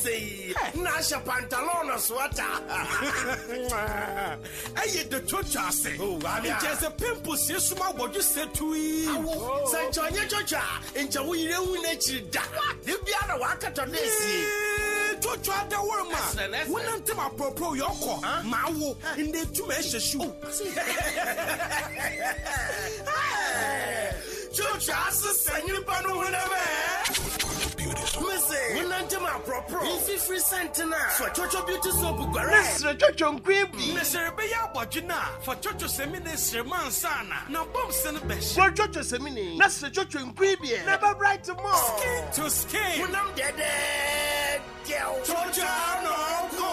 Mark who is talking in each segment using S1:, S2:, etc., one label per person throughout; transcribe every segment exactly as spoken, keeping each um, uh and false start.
S1: sɛ yi na ahyɛ pantalon na sweater.
S2: Ɛyɛ de twotwa ase.
S1: Oh, Wamia.
S2: Nkyɛ sɛ pimples yɛ suma wɔdwe sɛ tui.
S1: Awo sɛ nkyɛ ɔnyɛ twotwa a, nkyɛ wo yere hu n'akyiri da de bia na wakatɔ ne esie.
S2: Twotwa adaworo ma
S1: Ɛsrɛ na ɛsrɛ.
S2: Wonante ma pɔpɔ yɛ ɔkɔ ma awo ndɛ tuma ɛhyɛ shoe.
S1: Twotwa asesa nyimpa no honam ɛ. Mese wonante ma aprɔprɔ mfifiri sɛntena fa Twotwo Beauty Soap guare.
S2: Ne
S1: srɛ twotwo nkoe bi.
S2: Ne sɛ rebɛyɛ abɔdwe no a, fa twotwo sɛmi ne srɛ ma ansa na na bɔm sɛ no bɛhyɛ.
S1: Guare twotwo sɛmini na srɛ twotwo nkoe bi ɛ na bɛ bright more.
S2: Skin to skin.
S1: Honam dɛdɛɛdɛw.
S2: Twotwa no ko.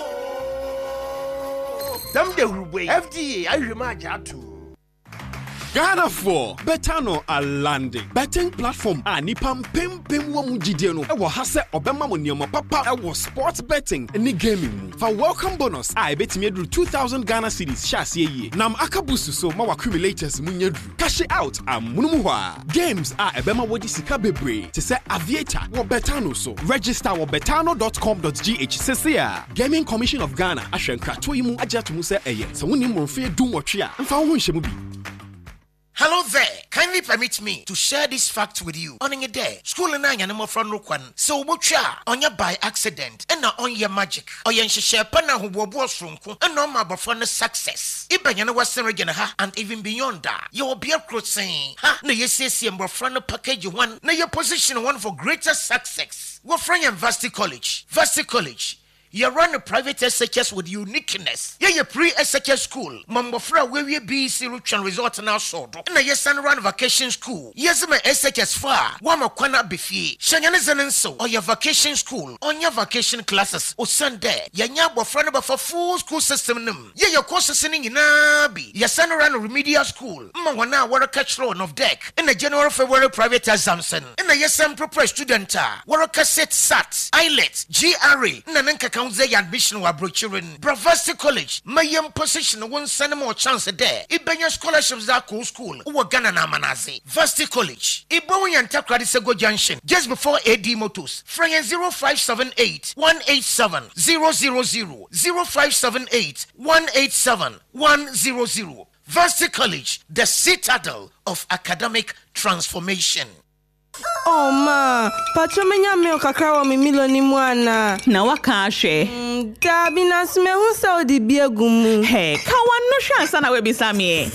S1: Dam de hurubɔ yi, F D A ahwehwɛ mu agye atom.
S3: Ghanafoɔ, Betano alande betting platform a nipa mpempem wɔ mu gyidie no ɛwɔ ha sɛ ɔbɛma mo nneɛma papa ɛwɔ sports betting ne gaming mu. Fa welcome bonus a ɛbɛtumi aduru two thousand Ghana cedis hyɛ aseɛ yie nam aka boost so ma w'accumulators mu nyɛ duru. Cash out amono mu hɔ a games a ɛbɛma wɔde sika bebree te sɛ Aviator wɔ Betano so. Register wɔ betano dot com dot G H sese a Gaming Commission of Ghana ahwɛ nkratoɔ yi mu agye ato mu sɛ ɛyɛ sɛ wonim mmorɔmfeɛ dunwɔtwe a mfa wo ho nhyɛ mu bi.
S4: Hello there. Kindly permit me to share this fact with you. On a day, school na anya mmɔfra no kwan sɛ wobɔtwa a ɔnyɛ by accident ɛna ɔnyɛ magic. Ɔyɛ nhyehyɛ pa na ahoboaboa soronko ɛna ɔma abɔfra no success. Ibɛnya no Western Region ha and even beyond a yɛwɔ bea koro sen ha na yɛsiesie mmɔfra no package one na yɛ position one for greater success. Wɔfrɛ yɛn Varsity College. Varsity College. You run a private S H S with uniqueness. Yeah, your pre S H S school. Mmɔfra a wɔawie B E C retwɛn result na asɔ do. Na yɛsan run vacation school. Yɛdze ma S H S fo a wɔama kwan aba fie. Hyɛ nyɛ ne dze ne nsew. Ɔyɛ vacation school. Ɔnyɛ vacation classes. Osiane dɛ yɛnyɛ abɔfra no bɛfa full school system no mu. Yɛyɛ courses no nyinaa bi. Yɛsan run remedial school. Ma wɔn a wɔreka kyerɛw NOVDEC. Ɛna January, February private exams no. Ɛna yɛsan prepare student a wɔreka sit SAT, IELTS, G R E, na ne nkeka ho dze yɛ admission wɔ aburokyire no. Bravasti College ma yɛn position wo nsa no ma ɔ chance dɛ ibɛnya scholarships dze akɔ school wɔ Ghana na amanadze. Varsity College. Ibohu yɛn Takoradi Sego Junction just before A D Motors. Frɛ yɛn zero five seven eight one eight seven zero zero zero, zero five seven eight one eight seven one zero zero. Varsity College, the citadel of academic transformation.
S5: Oh ma, patro, menya milk kakra wɔ me Milo ni mu ana?
S6: Na waka ahwɛ.
S5: Mm, daabi, nanso mehu sɛ wode bi agu mu.
S6: Hɛ, ka wano hwɛ ansa na woabisa me.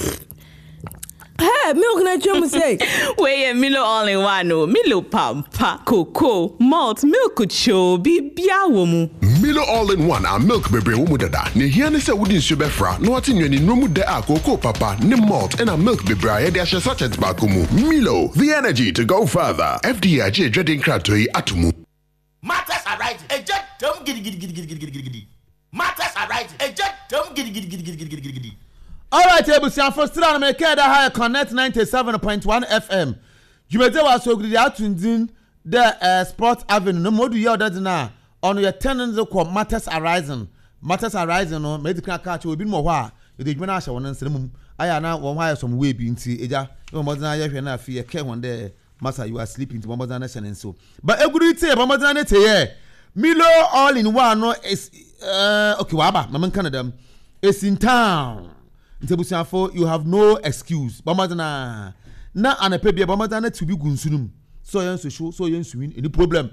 S5: Hey, milk na atwa mu sɛ.
S6: Wei yɛ Milo all in one o. Milo pampa, cocoa, malt, milk kyoo, biribia wɔ mu.
S7: Milo All in One a milk bebree wɔ mu dada na ehia ne sɛ wode nsuo bɛfra na wate nnuane nnuro mu dɛ a kookoo papa ne malt ɛna milk bebree a yɛde ahyɛ sachet baako mu. Milo, the energy to go further. F D A agye adwade nkratoɔ yi ato mu.
S4: Matters arising. Ɛgya dam gidigidigidigidigidi. Matters arising. Ɛgya dam gidigidigidigidigidi.
S8: Alright, ebusuafo, sira no mekɛɛ dɛ ha yɛ Connect ninety-seven point one F M dwumadie wɔ asogiri ato ndin dɛ eh, Sport Avenue no ma odu yɛ ɔdɛ dze no a ɔno yɛ ten no dze kɔ Matters Arising. Matters Arising no, mɛdi kan aka akyerɛ obinom wɔ hɔ a yɛde adwuma no ahyɛ wɔn nsa mu ayɛ ana wɔn ho ayɛ sɔm wei bi nti egya ne wɔn mmɔden ayɛ hwɛ no. Afei yɛkɛ wɔn dɛ masa, you are sleeping, nti wɔn mmɔden ahyɛ ne nso but eguru tie wɔn mmɔden ne te yɛ Milo All in One no is uh, okay, waba mama nka no dɛm. It's in town nti abusuafo, you have no excuse. Bɔ mmɔden a na anapɛ bia bɔ mmɔden na ti bi gu nsu no mu sɛ ɔyɛ nsuhyew, sɛ ɔyɛ nsuwin, any problem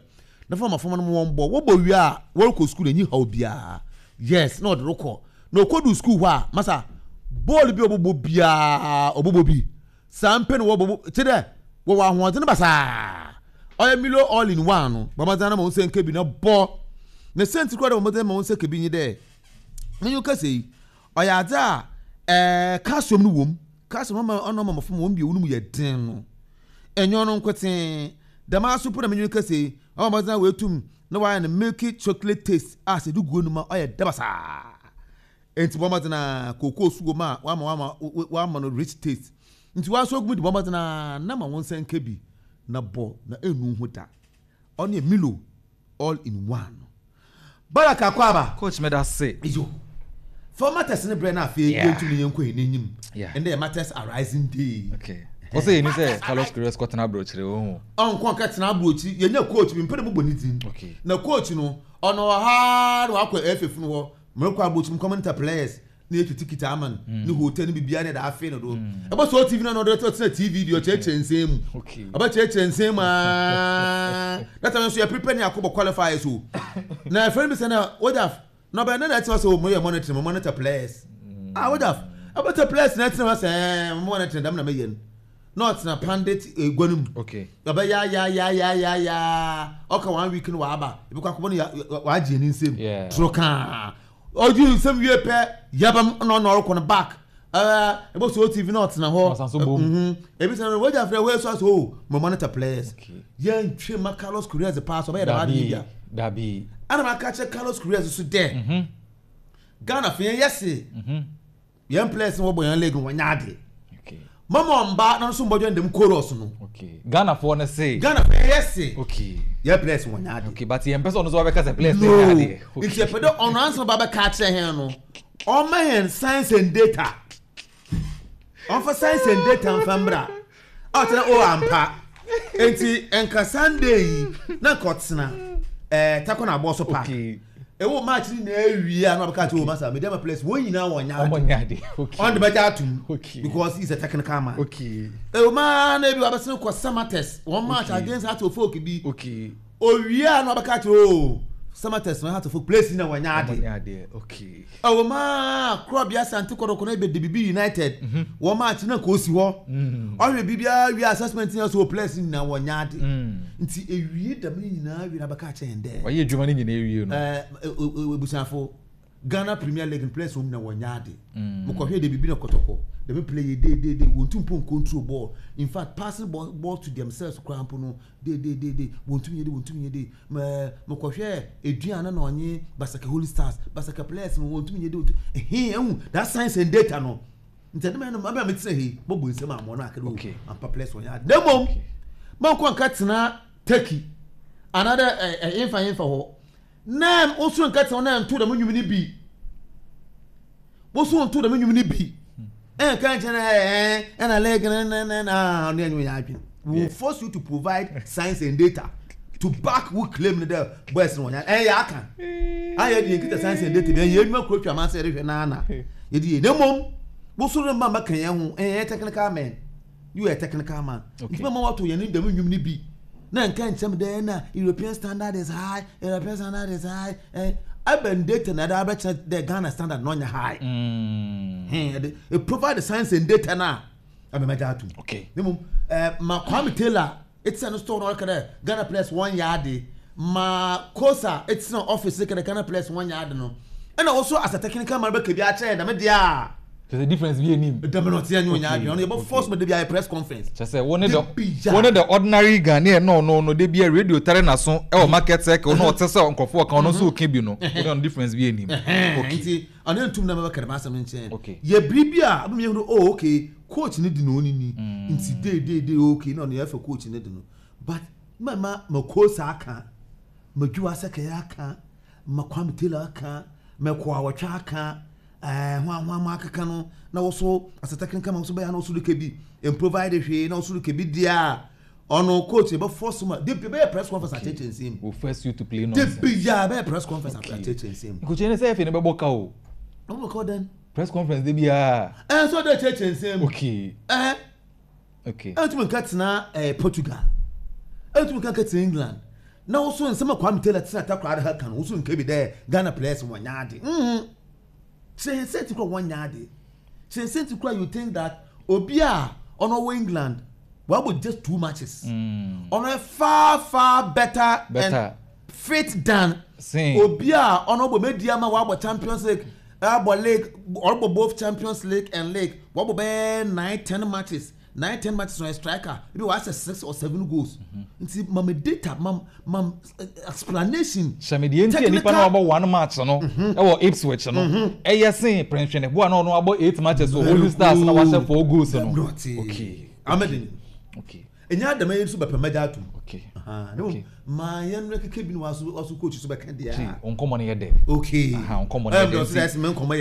S8: na fama fama no wɔn bɔ wɔbɔ wie a wɔrekɔ sukuu na enyi haw biara. Yes, na ɔde rekɔ na ɔkɔdu sukuu hɔ a, masa, bɔɔlu bi a ɔbɔbɔ biara ɔbɔbɔ bi saa mpɛ na wɔbɔbɔ kyɛ dɛ wɔwɔ ahoɔden basaa. Ɔyɛ Milo All in One no, bɔ mmɔden na ma wɔn nsa nka bi na bɔ na sɛnti koraa dɛ bɔ mmɔden ma wɔn nsa ka bi nye dɛ menyo kasa yi ɔyɛ adze a ɛɛ calcium no wɔ mu. Calcium ɔma ɔno ɔma mmɔfra wɔn bio no mu yɛ den no ɛnyɛ ɔno nkotee dɛm aso po na menyo kasa yi ɔma mmɔden a wɔatum na wɔayɛ no milky chocolate taste a sɛ de guo no mu a ɔyɛ dɛ basaa. Nti bɔ mmɔden a kookoo so wɔ mu a wama wama wama no rich taste nti waso ogu mu de bɔ mmɔden a na ma wɔn nsa nka bi na bɔ na enu ho da. Ɔno yɛ Milo All in One. Baraka Kwaba.
S9: Coach, meda se.
S8: Iyo, for matters ne brɛ na afei
S9: Yeah.
S8: yɛntumi yɛnkɔ yɛn n'anim.
S9: Yeah.
S8: Ɛnna yɛ Matters Arising Day.
S9: Okay. Wɔsɛ yɛni sɛ Carlos Queiroz kɔtena aburokyire ohun.
S8: Ɔnkɔ nkɛtena aburokyire. Yɛnyɛ coach bi mpɛ dɛ mobɔ ne din.
S9: Okay.
S8: Na coach no, ɔno wɔ ha na wakɔ F F no hɔ mmerɛkɔ aburokyire mu kɔmɛnta players na yɛtu ticket ama no ne hotel ne biribiara ne yɛde afe no do. Ɛbɛ sɛ T V no na ɔde ɔtena T V deɛ, ɔkyerɛkyerɛ nsɛm mu.
S9: Okay.
S8: Ɔbɛkyerɛkyerɛ nsɛm mu aa, that time nso yɛ prepare ne akɔbɔ qualifiers o, na ɛfɛ no bi sɛ na wogya na ɔbɛn ne na ɛtena sɛ o mo yɛ monitor, mo monitor players ah, wogya ɛbɛtɛ players na ɛtena hɔ sɛ ɛɛ mo monitor dɛm na mɛyɛ no, na ɔtena pundit egua no mu.
S9: Okay.
S8: Ɔbɛ ya ya ya ya ya ya, ɔka one week no waba ebi kɔ akɔbɔ no ya wagye ne nsam.
S9: Yeah.
S8: Toro kaa ɔgye nsam wie pɛ, yabam na ɔna ɔrekɔ no back, ɛɛ ɛbɛ so T V na ɔtena hɔ.
S9: Ɔsan so bom.
S8: Mhm. Ebi sɛ no wagya frɛ wei so aso o mo monitor players.
S9: Okay.
S8: Yɛn ntwe ma Carlos Queiroz paa so ɔbɛyɛ dɛm adi
S9: Dabi
S8: bia.
S9: dabi.
S8: Ɛna ma ka kyerɛ Carlos Queiroz so dɛ
S9: Mhm.
S8: Ghana fɛ yɛn yɛse
S9: Mhm.
S8: yɛn players no wɔbɔ yɛn league no, wɔnyɛ ade.
S9: Okay.
S8: Mama ɔmba na nso mbɔdwa ndɛm chorus no.
S9: Okay. Ghanafoɔ no se.
S8: Ghana fɛ yɛn yɛse
S9: Okay.
S8: yɛn players wɔnyɛ ade.
S9: Okay, but yɛn pɛ sɛ ɔno nso wabɛka sɛ players no
S8: No.
S9: nyɛ adeɛ. Okay.
S8: Nti yɛpɛ dɛ ɔno ansa ba bɛka akyerɛ hɛn no, ɔma hɛn science and data. Ɔmfa science and data mfa mbra a ɔkyerɛ o ampa. Nti nka Sunday yi na nka ɔtena ɛɛ Takɔ na abɔ so park.
S9: Okay.
S8: Ɛwɔ match ni na ewie a na ɔbɛka kyerɛ o masa media ma players wɔn nyinaa wɔn nyɛ
S9: Ɔmo
S8: ade.
S9: nyɛ adeɛ. Okay.
S8: Ɔn de bɛgye atum
S9: Okay.
S8: because he is a technical man.
S9: Okay.
S8: Ɛwɔ maa na ebi wabɛsɛn kɔ Samatex wɔn match
S9: Okay.
S8: against Hearts of Oak bi.
S9: Okay.
S8: Owie a na ɔbɛka kyerɛ o Samatex na Hearts of Oak players na wɔn nyɛ
S9: Ɔmo
S8: ade.
S9: nyɛ adeɛ. Okay.
S8: Ɛwɔ maa Korɔbea Asante Kɔtɔkɔ na ebe de bibi United wɔn match na kò si hɔ, ɔhwɛ biribiara wie, assessment yɛn so o players nyinaa wɔn nyɛ ade. Nti ewie dɛm ne nyinaa wie na bɛka kyerɛ yɛn dɛ
S9: Ɔyɛ adwuma no nyinaa ewie no.
S8: Ɛɛ, ebusuafo, Ghana Premier League players wɔn nyinaa wɔn nyɛ ade. Mokɔhwɛ de bibi na Kɔtɔkɔ dɛm play yɛ de de de wɔn tum po control ball, in fact passing ball, ball to themselves koraa mpo no de de de de wɔn tum yɛ de wɔn tum yɛ de. Mɛ mokɔhwɛ Eduana na ɔnye Basake Holy Stars, Basake players no wɔn tum yɛ de wɔn tum ɛhɛn. Ɛhu that science and data no, nti ɛdɛm ɛnum abɛn mi tena he bɔbɔ nsɛm amɔ no akɛdɛ o
S9: Okay.
S8: ampa players wɔn yɛ ade. Na mmom mɔnkɔ nka tena Turkey anaadɛ ɛ ɛ yɛnfa yɛnfa hɔ na woso nka tena hɔ na nto dɛm nnwom no bi, woso nto dɛm nnwom no bi ɛnka nkyɛn ɛ ɛ ɛna leg na na na na ɔno ɛnyɛ yɛ adwene. We will force you to provide science and data to back wo claim no dɛ boys no wɔnyɛ ɛyɛ aka ayɛ de yɛn kita science and data bi ɛyɛ enwuma kuro twa amansa yɛde hwɛ naana yɛde yɛ. Na mmom woso no mma mɛka yɛn ho ɛyɛ technical man, you are a technical man.
S9: Okay.
S8: Nti mama wato yɛn ne dɛm nnwom no bi na nka nkyɛn dɛ na European standard is high, European standard is high. Ɛ abɛn data na ɛde abɛkyerɛ dɛ Ghana standard na ɔnyɛ high.
S9: Mm.
S8: Hɛn ɛde e provide the science and data na abɛmɛgya atum.
S9: Okay.
S8: Ne mu ɛɛ ma Kwame Taylor etia no store na ɔreka dɛ Ghana players wɔn yɛ ade, ma Kosa etia office ka dɛ Ghana players wɔn yɛ ade no, ɛna also as a technical man bɛka bi akyerɛ dɛm deɛ a
S9: Kyerɛ sɛ difference bi anim.
S8: Dɛm na ɔte ɛnyɛ ɔnyɛ
S9: Okay,
S8: adwene ɔno yɛbɛ force ma de bi ayɛ press conference.
S9: Kyerɛ sɛ wo ne the
S8: De bi ya.
S9: wo ne the ordinary Ghanaian no no no de bi a radio tare n'aso ɛwɔ market circle na ɔte sɛ nkurɔfoɔ kan ɔno nso ɔka bi no, wo ne ɔno difference bi anim. Okay.
S8: Nti ɔne ntum na mɛbɛka dɛm asɛm nkyɛn.
S9: Okay.
S8: Yɛ biribi a ɔbɛn yɛn oh okay, coach ne di na ɔni ni nti de de de okay na ɔno yɛfɛ coach ne di no, but mɛma ma Kosa aka, ma Dwiwa Sɛkɛyɛ aka, ma Kwame Taylor aka, ma Kɔ Awɔtwe aka, ɛɛ ho ahoa mo akeka no na wɔso asɛ technical ma wɔso bɛyɛ na wɔso de kebi improvide hwee na wɔso de kebi di a ɔno coach yɛ bɛ force ma de bi bɛyɛ press conference akyerɛkyerɛ nsɛm.
S9: Will force you to play
S8: De
S9: nonsense.
S8: bi ya bɛyɛ press conference akyerɛkyerɛ nsɛm.
S9: Nkokyɛ ne sɛ ɛfɛ ne bɛbɔ ka o.
S8: Ɔmo bɛ kɔ dɛn?
S9: Press conference de biara.
S8: Ɛn sɛ ɔde kyerɛkyerɛ nsɛm.
S9: Okay.
S8: Ɛn
S9: Okay.
S8: ɛntumi nka tena ɛɛ Portugal, ɛntumi nka tena England na woso nsɛm a Kwame Taylor tena Takoradi ha kan woso nka bi dɛ Ghana players wɔn nya ade. mhm kyerɛ sɛ ti kura wɔn nya ade, kyerɛ sɛ ti kura you think that obi a ɔno wɔ England wabɔ just two matches,
S9: Mm.
S8: ɔno yɛ far far better,
S9: Better.
S8: and fit than
S9: Same.
S8: obi a ɔno bɔ Medeama wabɔ Champions League, abɔ league, ɔbɔ both Champions League and league, wabɔ bɛyɛ nine ten matches, nine ten matches. Ɔyɛ striker ebi wahyɛ six or seven goals. Nti mama data, mam mam eh, explanation.
S9: Hyɛmɛdeɛ nti a nipa na wabɔ one match no ɛwɔ Ipswich no ɛyɛ sen Prɛnhwɛne bo a na ɔno wabɔ eight matches wɔ Holy Stars na wahyɛ four goals no. Okay.
S8: Amadi.
S9: Okay.
S8: Enya adama yi nso bɛpɛ mɛgya atum.
S9: Okay.
S8: Ne
S9: Okay.
S8: maa yɛn no keke bi na waso waso coach so bɛka
S9: Ti
S8: deɛ.
S9: nkɔmɔ no yɛ dɛ.
S8: Okay.
S9: Aha, nkɔmmɔ no yɛ
S8: ɛm
S9: dɛ
S8: dɛ
S9: nti-
S8: ɔsɛ ɛsɛ mɛ nkɔmɔ yɛ.